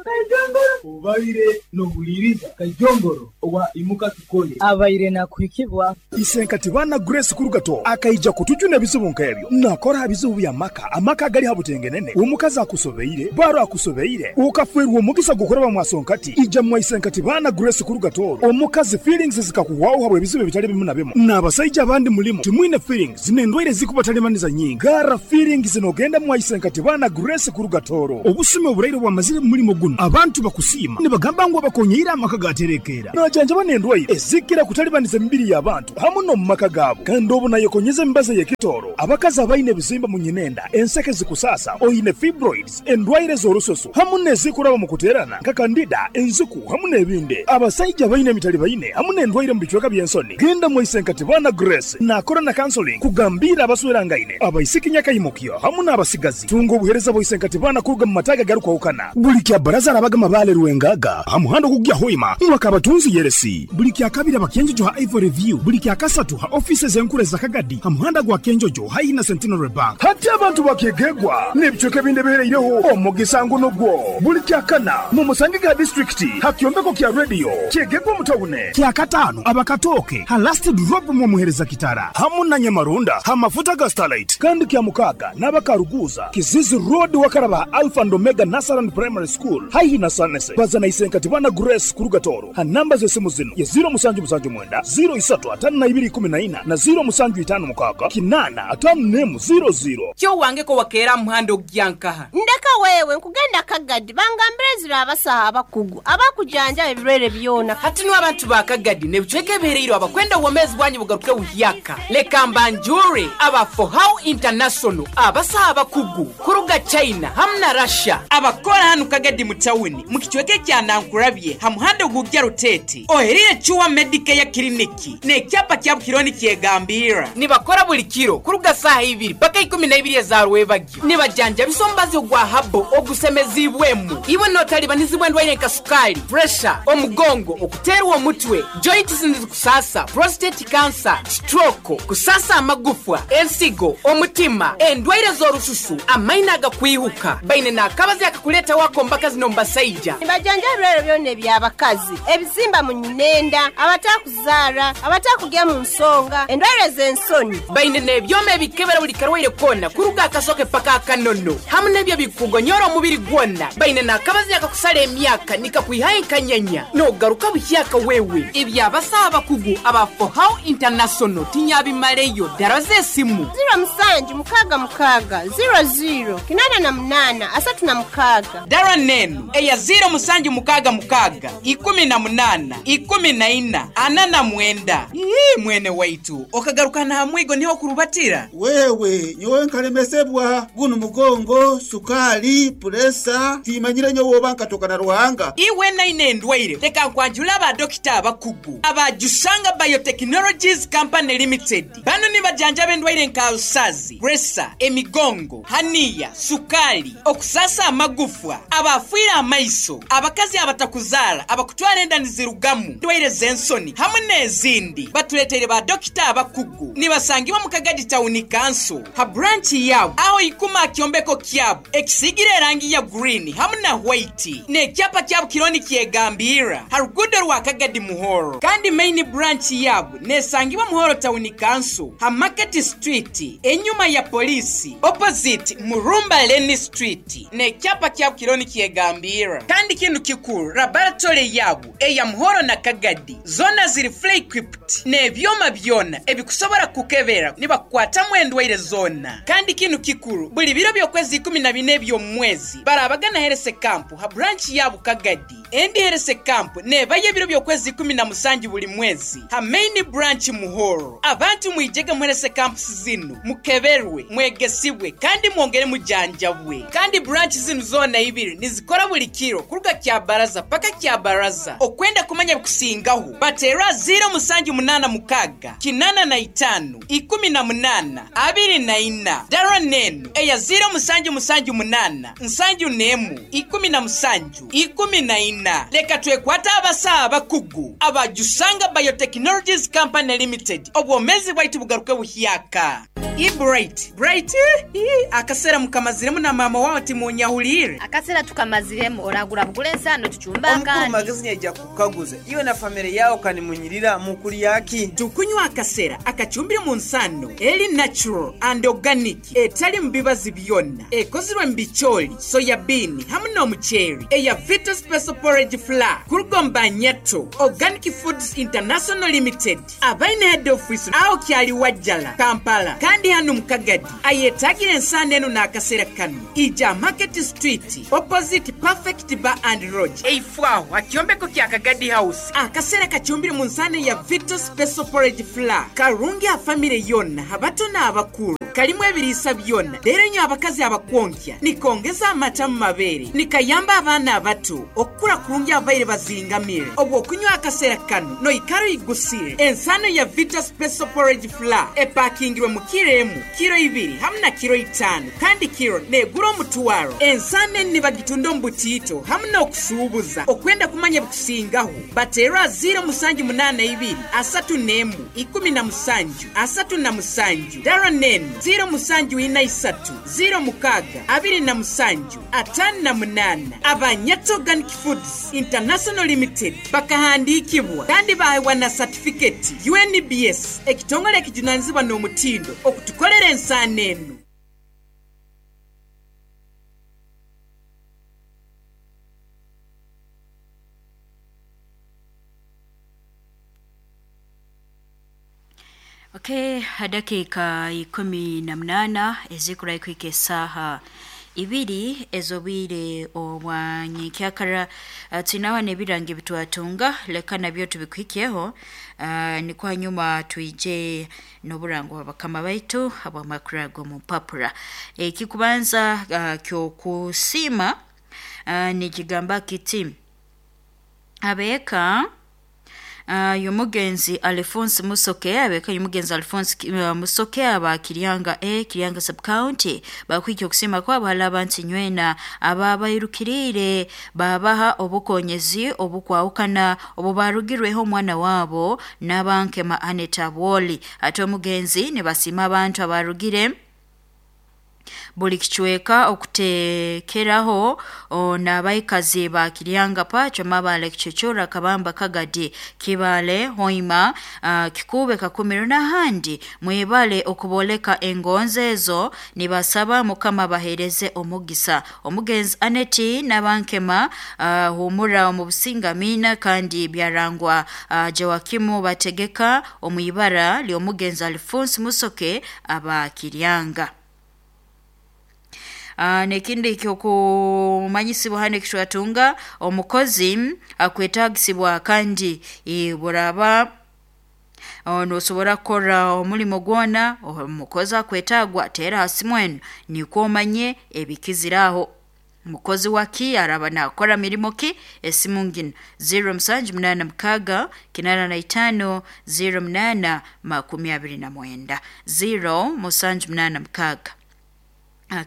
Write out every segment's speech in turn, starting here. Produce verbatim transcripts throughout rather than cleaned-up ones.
Kajongoro ubaire nohuliriza Kajongoro owa imuka tukole abaire nakuhikibwa. Isenkati bana Grace Kurugato akaija kutujuna ebizibu nk'ebyo. Nakora bizibu bya maka, amaka gali habutengenene. Omukazi akusobeire, baro akusobeire, ukafwerwa omugisa gukoraba mwasonkati. Ija mwa Isenkati bana Grace Kurugato. Omukazi feelings zikakuwaho habwe ebizibu bitali bimu na bimu. N'abasajja abandi mulimu timwine feelings n'endwaire zikubatalibaniza nyingi. Gara feelings nogenda mwa Isenkati bana Grace Kurugatoro. Obusime oburaire bwamazire mu mulimo guno. Abantu bakusiima nibagamba ngu abakonyeira amaka gaterekera. Najanjaba n'endwaire ezikira kutalibaniza emibiri y'abantu hamu no mu maka gaabo. Kandi obu nayekonyeza emibazi y'ekitoro. Abakazi abaine ebizimba mu nyinenda, enseke zikusasa, oyine fibroids, endwaire z'orususu hamu n'ezikuraba mu kuterana nka kandida, enziku hamu n'ebindi. Abasajja abaine emitali baine hamu n'endwaire mu bicweka by'ensoni. Genda mu Isenkati bana Grace nakora na counseling kugambira abaswerangaine, abaisiki nyakayimukyo hamu n'abasigazi. Tunga obuhereza bwa Isenkati bana kuruga mu mataga garukwahukana. Buli kya baraza arabaga mabale Rwengaga hamuhando kugya hoima mwakabatunzi yeresi. Buli kya kabiri abakenjojo ha Ivory View, buli kya kasatu ha offices enkure za Kagadi hamuhanda gwa Kenjojo hayi na Centenary Bank. Hati abantu bakegegwa n'ebicweka ebindi bihereireho omugisa nguno gwo. Buli kya kana mu musange ga district hakyombeko kya radio kyegegwa mutawune. Kya katano abakatoke ha last drop mu muhereza kitara hamu na Nyamarunda ha mafuta ga Starlight. Kandi kya mukaga n'abakaruguza Kizizi Road wakaraba Alpha and Omega Nasaran Primary School haihi na Sanese. Bazana Isenkati bana Grace Kurugatoro ha namba z'esimu zino ya zero musanju musanju mwenda zero isatu atano na ibiri kumi na ina na zero musanju itano mukaga kinana atano nemu zero zero. Kyo wange ko wakera muhando gyankaha. Ndeka wewe nkugenda Kagadi bangambire zira abasaha abakugu abakujanja ebirwere byona. Hati no abantu ba Kagadi nebicweke bihereiro abakwenda uwomezi bwanyu bugaruke buhyaka. Leka mbanjure aba For How International abasaha abakugu kuruga China hamna Russia abakora hanu Kagadi mutawuni mu kicweke kya Nankurabye hamuhando gugya Rutete oherire chuwa Medicare kliniki ne kyapa kya Bukironi kyegambira nibakora buli kiro kuruga saha ibiri paka ikumi na ibiri za rwebagyo nibajanja bisombazi gwa habo ogusemezibwemu iwe notalibanizibwe ndwaire nka sukali, pressure, omugongo, okuterwa omutwe, joints kusasa, prostate cancer, stroke, kusasa amagufwa, ensigo, omutima, endwaire z'orususu, amaina agakwihuka baine nakabazi akakuleta wako mbaka zino mbasaija. Nibajanja ebirwere byona eby'abakazi, ebizimba mu nyinenda, abatakuzara, abatakugya mu nsonga, endwaire z'ensoni. Baine n'ebyoma ebikebera buli karwaire kona kuruga akasoke paka akanono hamu n'ebyo bikugonyora omubiri gwona. Baine nakabazi akakusala emyaka nikakwihaye nkanyanya nogaruka buhyaka wewe. Ebyabasaha abakugu aba For How International tinyabimaleyo daraze esimu zero musanju mukaga mukaga zero zero kinana na munana asatu na mukaga. Dara nenu eya zero musanju mukaga mukaga ikumi na munana ikumi na ina ana na mwenda. Ii mwene waitu okagaruka na hamwigo niho kurubatira. Wewe nyowe nkalemesebwa guno mugongo sukali puresa timanyire nyowe oba nkatoka na Ruhanga. Iwe na ine ndwaire leka nkwanjula aba dokita abakugu abajusanga Biotechnologies Company Limited. Bano ni bajanja bendwaire nka usazi, presa, emigongo, hania, sukali, okusasa amagufwa, abafuira amaiso, abakazi abatakuzala, abakutwara enda nizirugamu, ndwaire z'ensoni hamwe n'ezindi. Batuletere ba dokita abakugu nibasangibwa mu Kagadi Town Council ha branch yabo aho ikuma kyombeko kyabo ekisigire erangi ya green hamwe na white n'ekyapa kyabo kironi kyegambira ha rugudo rwa Kagadi Muhoro. Kandi main branch yabo nesangibwa Muhoro Town Council ha Market Street enyuma ya polisi opposite Murumba Lane Street n'ekyapa kyabo kironi kyegambira. Kandi kintu kikuru laboratory yabo eya Muhoro na Kagadi zona ziri fully equipped n'ebyoma byona ebikusobora kukebera nibakwatamu endwaire zona. Kandi kintu kikuru buli biro by'okwezi ikumi na bine by'omwezi barabagana herese kampu ha branch yabo Kagadi. Endi herese kampu nebaye biro by'okwezi ikumi na musanju buli mwezi ha main branch Muhoro. Abantu mwijege muherese kampu zinu mukeberwe mwegesibwe kandi mwongere mujanjabwe. Kandi branch zinu zona ibiri nizikora buli kiro kuruga kya baraza paka kya baraza. Okwenda kumanya kusingaho batera zero musanju munana mukaga kinana na itanu ikumi na munana abiri na ina. Dara nenu eya zero musanju musanju munana nsanju nemu ikumi na musanju ikumi na ina. Leka twekwata abasaha abakugu abajusanga Biotechnologies Company Limited obwomezi bwaitu bugaruke buhyaka. I Bright Bright, ii, akasera mukamaziremu na mama wawe timunyahulire. Akasera tukamaziremu oragura bugule ensano tuchumba. Omukuru Akandi magezi nyaija kukaguza iwe na famire yawo kanimunyirira mukulyaki. Tukunywa akasera akachumbire mu nsano eri natural and organic, etali mu bibazi byonna, ekozirwe mu bicholi, soya bean hamwe n'omuceeri, eya Vita Special Porridge Flour kurugomba Nyato Organic Foods International Limited, abaine head office aho kyali Wajjala Kampala, kandi hano mukagadi ayetagire ensano eno n'akasera kano ija Market Street opposite Perfect Bar and Lodge, eifwaho akyombeko kya Kagadi House. Akasera kachumbire mu nsano ya Vita Special Porridge Flour karungi afamire yonna, abato n'abakulu, kalimu ebiriisa byonna. Leero nyo abakazi abakwonkya nikongeza amata mu mabeere, nikayamba abaana abato okukula kurungi abaire bazingamire. Obwo okunywa akasera kano noikara oyigusire. Ensano ya Vita Special Porridge Flour epakingirwe mu kiro emu, kiro ibiri hamwe na kiro itaano, kandi kiro negura omutwaro. Ensano eni nibagitunda omu butiito hamwe n'okusuubuza. Okwenda kumanya bikusingaho bateerwa ziro musanju munaana ibiri asatu n'emu ikumi na musanju asatu na musanju dara nenu ziro musanju ina isatu ziro mukaga abiri na musanju atano na munana. Abanyato Organic Foods International Limited bakahandikibwa kandi bahewa na certificate U N B S, ekitongole ekijunanizibwa n'omutindo okutukolera ensaano eno. Okay, dakika ikumi na munana ezikura kwika esaha ibiri ezobwire obwanyekyakara. uh, tunawa nebirangi bitwatunga leka nabyo tubikwikiyeho, uh, niko hanyuma tuije n'oburango bakama baitu ab'amakuru mu mpapura. Ekikubanza uh, kyokusima uh, nikigamba kiti abeka Uh, yomugenzi Alphonse Musoke, abeka yomugenzi Alphonse uh, Musoke aba Kiryanga A, Kiryanga sub county bakwikyo okusima kwa abahala nti nywena ababairukirire babaha obukonyezi obukwawukana obubarugirweho omwana wabo n'abankema Aneta Bwoli. Ate omugenzi ne basima abantu abarugire buli kichweka okutekeraho n'abaikazi ba Kiryanga pacho mabale kichochora kabamba kagadi kibale hoima uh, kikube kakumiro n'ahandi mwebale okuboleka engonze ezo nibasaba mukama bahereze omugisa. Omugenzi Aneti n'abankema uh, humura omu businga mina kandi byarangwa uh, Joakimu bategeka omwibara ly'omugenzi Alphonse Musoke aba Kiryanga. Uh, nekindi kyokumanyisibwa hano ekishwatunga omukozi akwetagisibwa kandi buraba nosobora kukora omulimo gwona omukozi akwetagwa tera hasi mwenu nikwo omanye ebikiziraho. Mukozi waki araba nakora mirimo ki esimu ngino zero musanju munana mukaga kinana na itano zero munana makumi abiri na mwenda zero musanju munana mukaga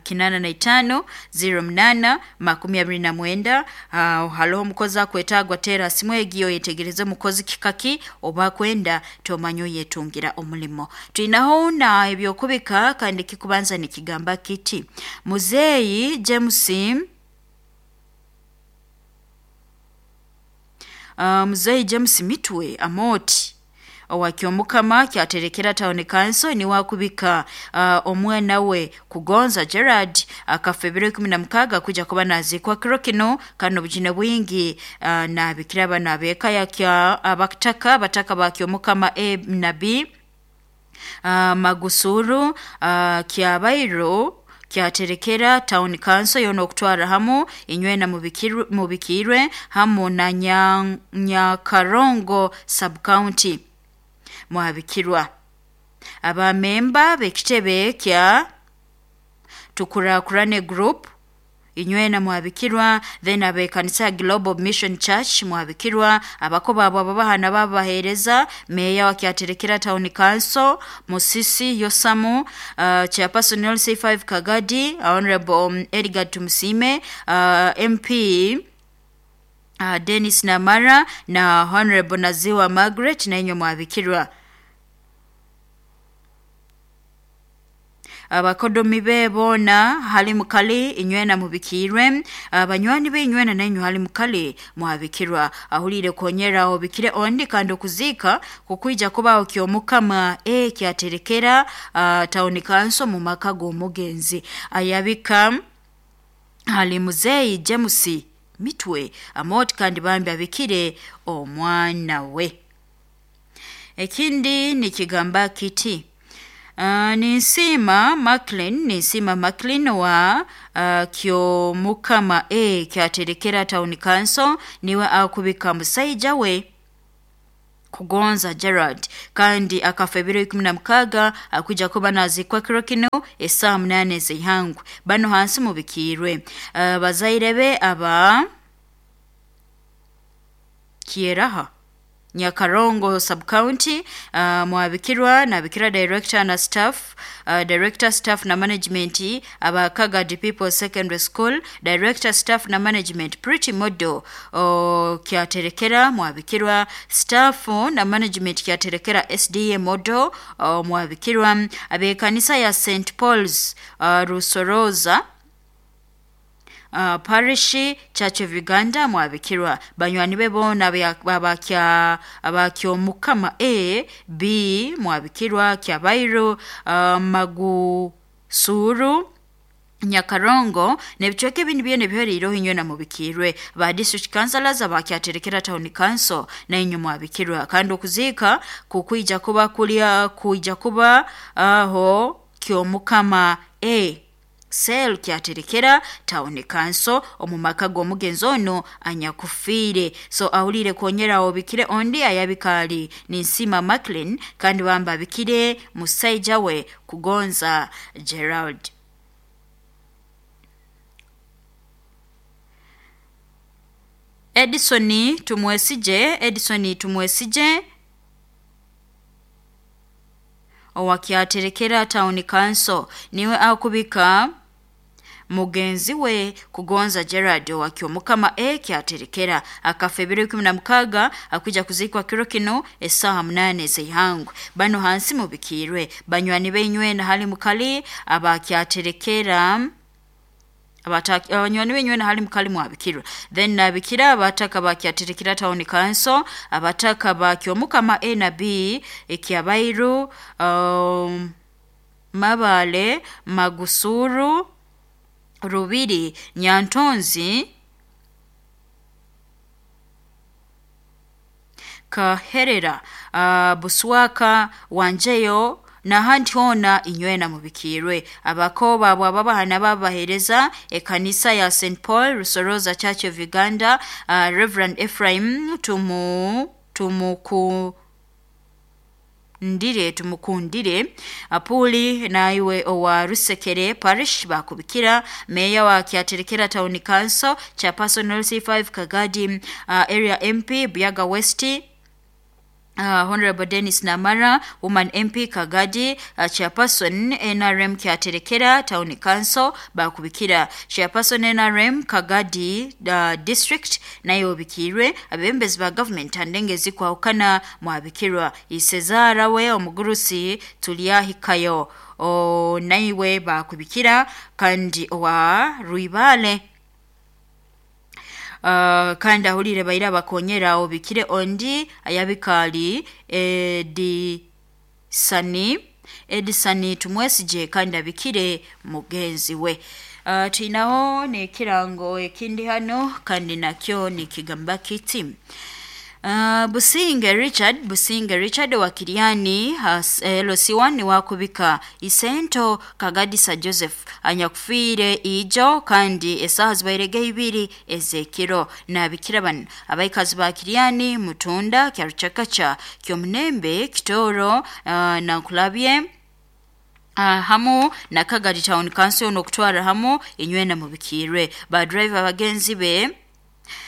kinana na itano zero mnana makumi abiri na mwenda. Uh, haloho mukozi akwetagwa tera simu egiyo yetegereze mukozi kikaki oba kwenda tomanyo yetungira omulimo. Tuinaho na ebyokubika kandi kikubanza nikigamba kiti Muzeyi James uh, Muzeyi James Mitwe Amoti owakyomukama kyaterekera town council ni wakubika uh, omwana we Kugonza Gerard akafa ebiro ikumi na mukaga kuja kuba nazikwa kiro kino kano bujine bwingi uh, na bikira bana beka yakya abataka bataka bakyomukama A na B uh, Magusuru uh, kyabairo kyaterekera town council yono okutwara hamu inywena mubikirwe mubikirwe hamu na Nyakarongo sub county mwabikirwa. Abamemba bekitebe kya Tukurakurane group inywena mwabikirwa, then abekanisa Global Mission Church mwabikirwa, abakoba abo ababahana babahereza meya wa kyaterekera town council Musisi Yosamu, uh, chairperson L C five Kagadi Honorable um, Edgar Tumusime, uh, M P Uh, Dennis Namara na Honorable Naziwa Margaret na inyo mwabikirwa. Abakodomi be boona hali mukali inywena mubikirwe, abanywani be inywena nainywe hali mukali mwabikirwa. Ahulire konyera obikire ondi kandi okuzika kukwija kubaho kyomukama e kyaterekera uh, town council mu maka g'omugenzi. Ayabika hali muzeyi James Mitwe amoti kandi bambi abikire omwana we. Ekindi nikigamba kiti Uh, Ninsima Macklin Ninsima Macklin wa uh, Kyomukama e kyaterekera town council niwe akubika musaija we Kugonza Gerard kandi akafa ebiro ikumi na mukaga akuja kuba nazikwa kiro kino esaa munane z'ihangwe. Bano hansi mubikirwe uh, bazaire be aba Kieraha Nyakarongo sub-county uh, mwabikirwa nabikira director na staff uh, director staff na management aba Kagadi People Secondary School director staff na management Pretty Model uh, kyaterekera mwabikirwa staff na management kyaterekera S D A Model uh, mwabikirwa abekanisa ya Saint Paul's uh, Rusoroza Uh, Parish Church of Uganda mwabikirwa. Banywani be bona abakya abakyomukama A B mwabikirwa Kyabairu uh, Magusuru Nyakarongo nebichweke ebindi byene biherireho inywe na mubikirwe. Ba district councillors abakyaterekera town council na inywe mwabikirwa kandi okuzika kukwija kuba kulya kuija kuba aho uh, kyomukama A sel kyaterekera town council omumaka g'omugenzi ono anyakufiire. So ahulire konyera obikire ondi ayabikali Ninsima Macklin kandi bamba abikire musaija we Kugonza Gerald. Edison Tumwesije Edison Tumwesije owakyaterekera town council niwe akubika mugenzi we Kugonza Gerard owakyomukama e kyaterekera akafa ebiro ikumi na mukaga akuja kuzikwa kiro kino esaha munane z'ihangwe. Bano hansi mubikirwe banywani beinywe na hali mukali abakyaterekera abanywani benywe na hali mukali mwabikirwa. Then nabikira abataka bakyaterekera town council abataka bakyomukama A na B ekyabairu um, Mabale Magusuru Rubiri Nyantonzi Kaherera uh, Buswaka Wanjeyo na handi hona inywena mubikirwe. Abakoba abo ababahana babahereza ekanisa ya Saint Paul Rusoroza Church of Uganda uh, Reverend Ephraim tumu tumuku ndire tumukundire apuli naiwe owa Rusekere Parish bakubikira meya wa kyaterekera town council chairperson L C five Kagadi uh, area M P Buyaga West Uh, Honorable Dennis Namara, Woman M P Kagadi, uh, Chairperson N R M Kyaterekera Town Council bakubikira Chairperson N R M Kagadi uh, District nayo bikirwe abembezi ba government andengezi kwa ukana mwabikirwa Isezara we omugurusi tulyahikayo o naiwe bakubikira kandi owa Ruibale. Uh, kandi ahulire baira bakonyera obikire ondi ayabikali Edisani Edisani Tumwesije kandi abikire mugenzi we. Uh, tuinaho ne kirango ekindi hano kandi nakyo ni kigamba kiti Uh, Businge Richard Businge Richard wa Kiriani L C one wakubika Isento Kagadisa Joseph anyakufiire ijo kandi esaha zibairege ibiri ezekiro nabikira bano abaikazi ba Kiriani Mutunda Kyaruchakacha Kyomunembe Kitoro uh, na Nkulabye Uh, hamu na Kagadi Town Council nokutwara hamu inywena mubikirwe ba driver bagenzi be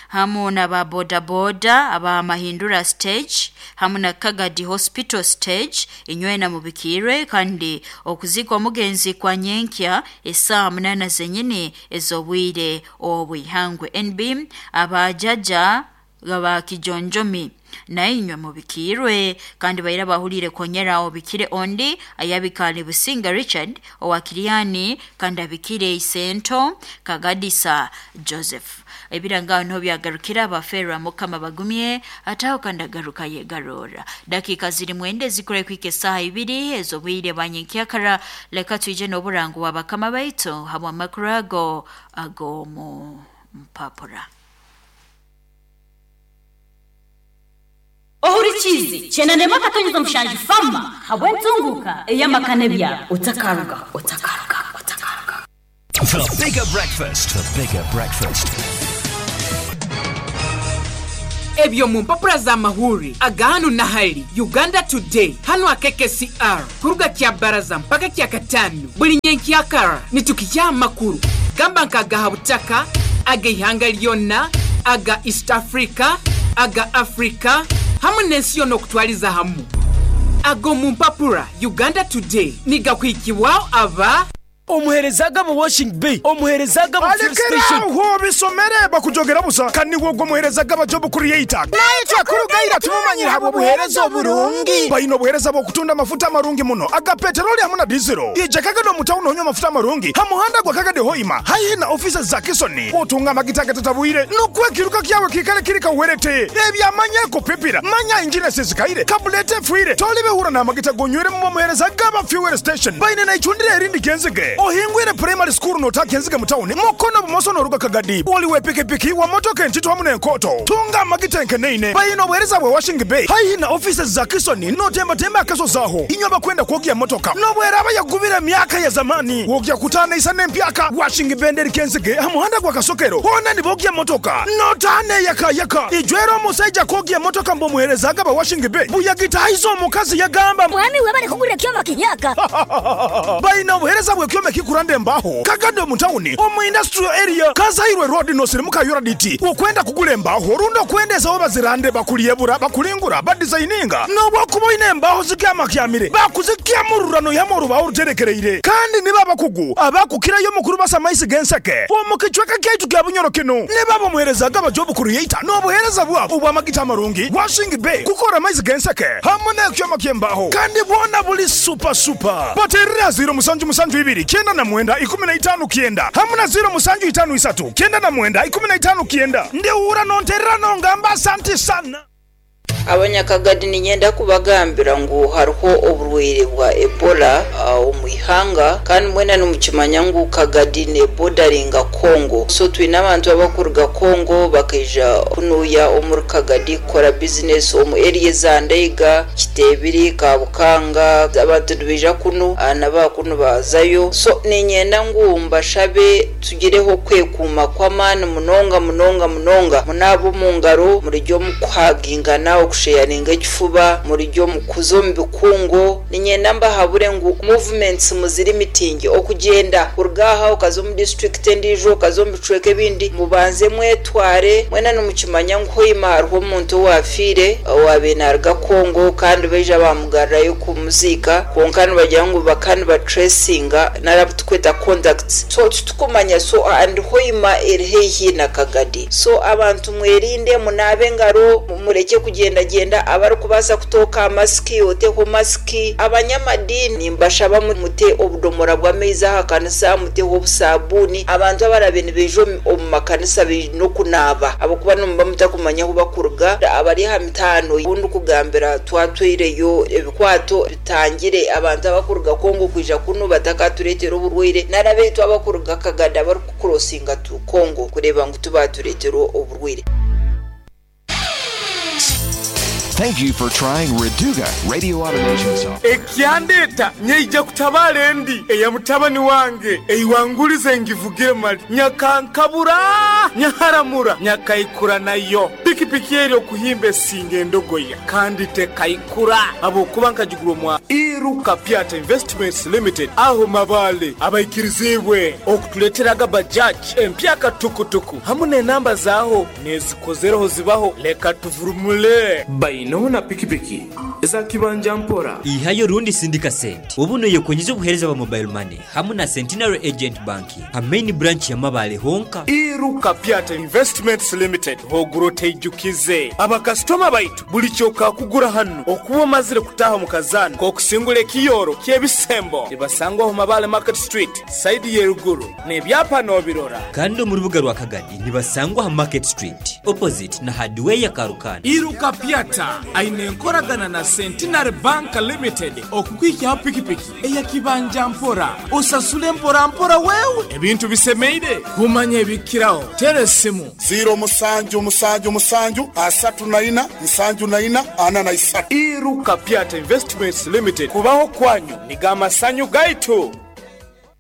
hamu na ba boda boda aba Mahindura stage hamu na Kagadi Hospital stage inywena mubikirwe kandi okuzikwa mugenzi kwa nyenkya esaa munana zenyini ezobwire obwihangwe. N B abajaja gaba kijonjomi nainywe mubikirwe kandi baira bahulire konyera obikire ondi ayabikale Businga Richard owakiriani kandi abikire Isento Kagadisa Joseph ebiranga no byagarukira abafera mukama bagumye ataho kandi agaruka yegarora dakika ziri mwende zikure kwike saha ibiri ezo bwire banyenkyakara leka tuje n'oburango wabakama baitu hamwe makurago agomu mpapura Ohurichizi chenanema katonyeza mshanji fama habwentunguka eyamakane bya utakaruga utakaruga utakaruga. The bigger breakfast, the bigger breakfast. Ebyo mu mpapura za mahuri aga hano na hali Uganda Today hano a K K C R kuruga kya baraza mpaka kya katano buli nyenkyakara nitukijya amakuru gamba nkagaha butaka aga ihanga lyonna aga East Africa aga Africa hamwe n'ensi yonna okutwaliza hamu ago mu mpapura Uganda Today nigakwikibwaho aba omuherezaga mu washing bay omuherezaga mu fuel station aho bisomere bakujogera busa kandi wogwo muherezaga ba job creator naitwa kurugaira tumumanyira habo buherezo burungi bayino buhereza bo kutunda mafuta marungi muno aga petroli hamwe na diesel ije kagado mutauno onywa mafuta marungi hamuhanda gwa kagade hoima haihi na offices za Kisoni otunga magitaka tatabuire nukwe kiruka kyawe kikale kirika uwerete ebyamanya kupipira manya engine sisikaire kabulete fuire tolibe hura na magita gonywere mu muherezaga ba fuel station bayine na ichundire erindi kenzige ohingwire primary school notakenzige mutawuni mukono bumoso noruga kagadi oliwe pikipiki wa motoka entito hamu n'enkoto tunga amagita enkeneine bayina obuhereza bwe washing bay haihi na offices za Kisoni notembatemba akaso zaho inywa bakwenda kwogya motoka nobweraba yagubira myaka ya zamani wogya kutana isa n'empyaka washing bay nderi kenzige hamuhanda gwa kasokero hona nibogya motoka notane yaka yaka ijwero omusajja kwogya motoka mbomuherezaga ba washing bay buyagitahiza omukazi yagamba mwami webale kugurira kyoma kinyaka bayina obuhereza bwe kyoma kikurande mbaho kagado mutawuni omu industrial area kazairwe road no sirimuka yoraditi okwenda kugula embaho rundo kwendeza oba zirande bakuliyebura bakulingura badesigninga nobwakuba ine embaho zikyamakyamire bakuzikyamururano yamo rubaho ruterekereire kandi niba bakugu abakukirayo mukuru basamaisi genseke omu kichweka kyaitu kya Bunyoro kino niba bomuherezaga ba job creator n'obuhereza bwabo obwamagita amarungi washing bay kukora amaizi genseke hamwe n'ekyoma ky'embaho kandi bwona buli super super baterera ziro musanju musanju ibiri kyenda na mwenda ikumi na itano kienda hamuna ziro musanju itano isatu kyenda na mwenda ikumi na itano kienda ndiura nonterera nongamba asante sana. Abanyakagadi ninyenda kubagambira ngu hariho oburwaire bwa Ebola omu ihanga kandi mwena nimukimanya ngu Kagadi ne bordering'a Congo, so twine abantu abakuruga Congo bakaija kunuya omuri Kagadi kukora business omu area za Ndeiga, Kitebiri, Kabukanga, abantu nibaija kunu nabakunu bazayo. So ninyenda ngu mbashabe tugireho kwekuuma kw'amaani munonga munonga munonga munaaba omu ngaro murijyo omu kuhagingana okusheyaringa ekifuba murijyo mukuza omu bikungo. Ninyenda mbahabure ngu movements muziri mitingi okugenda kuruga aha okaza omu district endiijo okaza omu bicweka ebindi mubanze mwetware mwena nimukimanya ngu hoima hariho omuntu owafiire owabe naruga Congo kandi baija bamugarrayo kumuziika kwonka nibagira ngu bakani batracinga narabutukweta contacts, so tutukumanya so and hoima eri haihi na Kagadi. So abantu mwerinde munabe engaro mureke kugenda genda abarikubaasa kutoka masiki oteho masiki. Abanyamadini mbashaba mute obudomora bw'amaizi aha kanisa muteho obusabuni abantu abarabe nibaija omu makanisa baine okunaaba abakuba nimuba mutakumanya ahu bakuruga. Abari aha mitaano obundi kugambira twatwireyo ebikwato bitangire abantu abakuruga Congo kwija kunu batakatureetera oburwaire narabeitu abakuruga Kagadi abarikukurosinga tu Congo kureeba ngu tubatureetera oburwaire. Thank you for trying Reduga Radio Automation Software. Ekyandeta nyeija kutabala endi eya mutabani wange eiwangulize ngivugire mali nyakankabura nyaharamura nyakaikura nayo pikipiki eri okuhimba esinga endogoya kandi tekaikura abokuba nkagigura omwa Iruka Piata Investments Limited aho mabale abaikirizibwe okutuleteraga Bajaj empyaka tukutuku hamwe n'enamba zaho nezikozereho zibaho leka tuvurumule bainona pikipiki za kibanja mpora ihayo rundi sindika sente ubuno yekonyiza obuhereza bwa mobile money hamwe na Centenary Agent Banking ha main branch ya Mabale honka. Iruka Piata Investments Limited hoguro teijukira. Oimukize abakasitoma baitu buli kyokakugura hano okuba omazire kutaha mu kazaano k'okusingula ekiyoro ky'ebisembo nibasangwaho Mabale Market Street saidi y'eruguru n'ebyapa n'obirora. Kandi omu rubuga rwa Kagadi nibasangwa ha Market Street opposite na hardware ya Karukana. Iruka Pyata aine enkoragana na Centenary Bank Limited okukwikyaho pikipiki eyakibanja mpora osasule mpora mpora wewe ebintu bisemeire kumanya ebikiraho tera esimu ziro musanju musanju musanju asatu na ina nsanju na ina ana na isatu. Iruka Pyata Investments Limited kubaho kwanyu nigamasanyu gaitu.